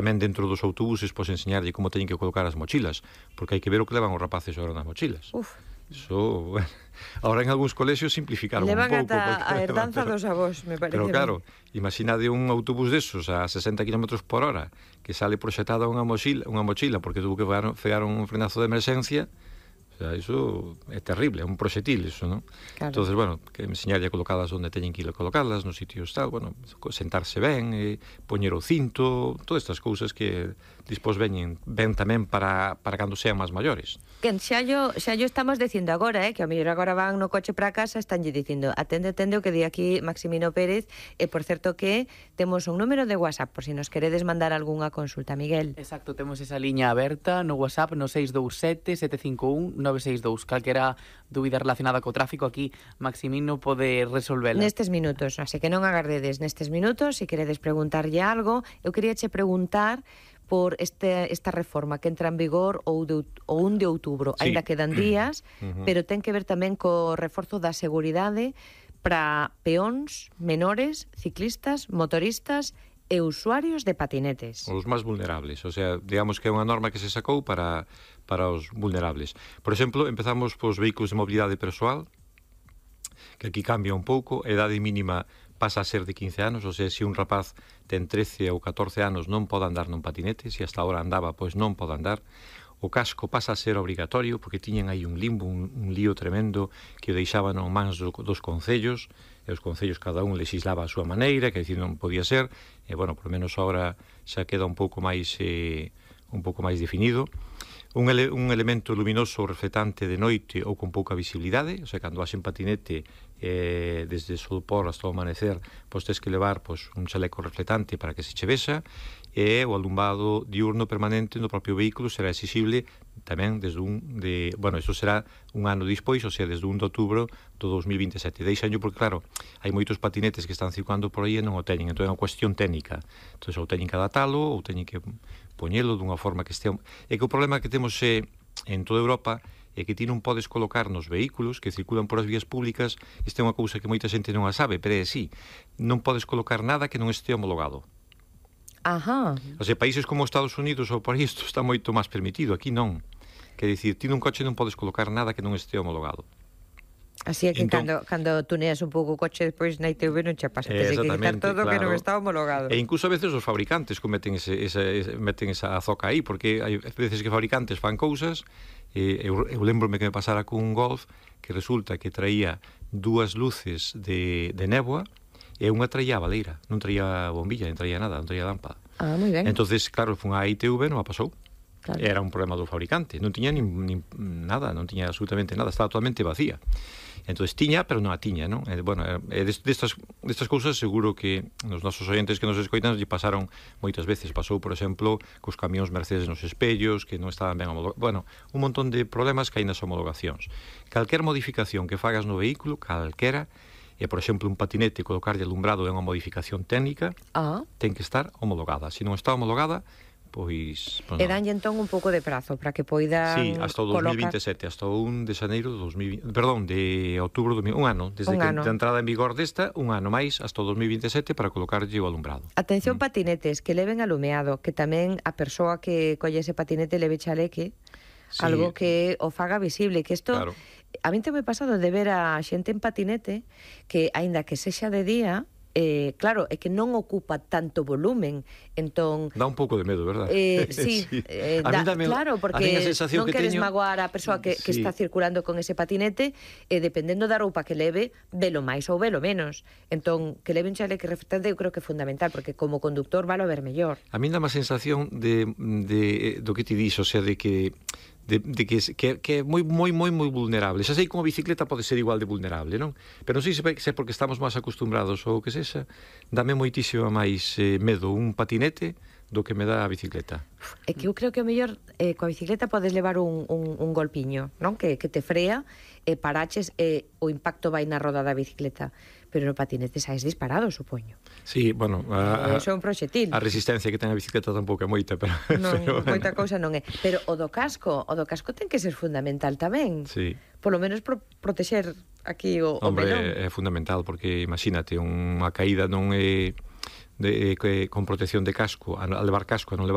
Tamén dentro dos autobuses, pois enseñarlle como teñen que colocar as mochilas, porque hai que ver o que levan os rapaces agora nas mochilas. Iso, bueno, ahora en algúns colexios simplificaron un pouco. Levan ata a herdanza dos avós, me parece. Pero claro, imaginade un autobús desos a 60 km por hora que sale proxetada unha mochila porque tuvo que pegar un frenazo de emerxencia. O sea, iso é terrible, é un proxetil iso, non? Claro. Entonces, bueno, que enseñarlle a colocalas onde teñen que ir a colocalas, nos sitios tal, bueno, sentarse ben, poñer o cinto, todas estas cousas que dispós ben tamén para cando sean máis maiores. Que xa yo estamos dicindo agora, que ao mellor agora van no coche para casa, estanlle dicindo, atende o que di aquí Maximino Pérez, e por certo que temos un número de WhatsApp, por si nos queredes mandar algunha consulta, Miguel. Exacto, temos esa liña aberta no WhatsApp no 627 751 962. Calquera dúbida relacionada co tráfico, aquí Maximino pode resolvela. Nestes minutos, así que non agardedes nestes minutos, se queredes preguntarlle algo. Eu queríache preguntar por esta reforma que entra en vigor o 1 de outubro. Sí. Ainda quedan días, pero ten que ver tamén co reforzo da seguridade para peóns, menores, ciclistas, motoristas e usuarios de patinetes. Os máis vulnerables, o sea, digamos que é unha norma que se sacou para os vulnerables. Por exemplo, empezamos pos vehículos de mobilidade persoal, que aquí cambia un pouco, a idade mínima pasa a ser de 15 anos, ou sea, se un rapaz ten 13 ou 14 anos non pode andar nun patinete, se hasta ahora andaba, pois non pode andar. O casco pasa a ser obrigatorio, porque tiñen aí un limbo, un lío tremendo, que o deixaban en mans dos concellos, e os concellos cada un legislaba a súa maneira, que dicir non podía ser, e, bueno, por lo menos agora xa queda un pouco máis definido. Un elemento luminoso reflectante de noite ou con pouca visibilidade, o sea, cando vas en patinete desde o solpor hasta o amanecer, pois tens que levar un chaleco reflectante para que se che vexa, e o alumbrado diurno permanente no propio vehículo será exixible tamén desde isto será un ano dispois, o sea, desde 1 de outubro do 2027. Deixanllo porque, claro, hai moitos patinetes que están circulando por aí e non o teñen, entón é unha cuestión técnica. Entón, ou teñen que adaptalo, ou teñen que poñelo dunha forma que este... É que o problema que temos en toda Europa é que ti non podes colocar nos vehículos que circulan por as vías públicas, esta é unha cousa que moita xente non a sabe, pero é así, non podes colocar nada que non este homologado. Ajá. O sea, países como Estados Unidos ou por aí isto está moito máis permitido, aquí non. Quer dicir, ti nun coche non podes colocar nada que non este homologado. Así é que cando tuneas un pouco o coche despois na ITV non che pasa, tens que quitar todo que non está homologado. E incluso a veces os fabricantes cometen meten esa azoca aí, porque hai veces que fabricantes fan cousas, eu lembrome que me pasara cun Golf que resulta que traía 2 luces de néboa e unha traía a baleira, non traía bombilla, non traía nada, non traía lámpada. Ah, moi ben. Entonces, claro, fun á ITV, non a pasou. Claro. Era un problema do fabricante, non tiña nin nada, non tiña absolutamente nada, estaba totalmente vacía. Entonces tiña, pero non a tiña, non? Bueno, destas cousas seguro que nos nosos oyentes que nos escoitan lle pasaron moitas veces. Pasou, por exemplo, cos camións Mercedes nos espellos, que non estaban ben homologados. Bueno, un montón de problemas que hai nas homologacións. Calquer modificación que fagas no vehículo, calquera, e, por exemplo, un patinete colocarlle alumbrado é unha modificación técnica, ten que estar homologada. Se non está homologada, pois e danlle entón un pouco de prazo para que poidan Sí, hasta o 2027, hasta o 1 de xaneiro de 2020, perdón, de outubro do un ano, desde que a entrada en vigor desta, un ano máis hasta o 2027 para colocarlle o alumbrado. Atención, patinetes que leven alumeado, que tamén a persoa que colle ese patinete leve chaleque, sí, algo que o faga visible, que isto, claro. A min te me pasado de ver a xente en patinete que, aínda que sexa de día, claro, é que non ocupa tanto volumen, entón... Dá un pouco de medo, verdad? Sí, claro, porque non queres magoar a persoa que está circulando con ese patinete, dependendo da roupa que leve, velo máis ou velo menos. Entón, que leve un chaleque reflectante eu creo que é fundamental, porque como conductor valo ver mellor. A min dá má sensación do que ti dís, o sea, de que é moi vulnerable. Xa sei como a bicicleta pode ser igual de vulnerable, non? Pero non sei se porque estamos máis acostumbrados ou o que sexa, dame moitísimo máis medo un patinete do que me dá a bicicleta. É que eu creo que o mellor coa bicicleta podes levar un golpiño, non? Que te frea, paraches e o impacto vai na roda da bicicleta. Pero no patinete saes disparado, supoño. Sí, bueno, é un proxetil. A resistencia que ten a bicicleta tampouco é moita, pero... Non, moita cousa non é. Pero o do casco ten que ser fundamental tamén. Sí. Por lo menos protexer aquí o melón. Hombre, é fundamental, porque imagínate, unha caída non é con protección de casco, a levar casco, a non levar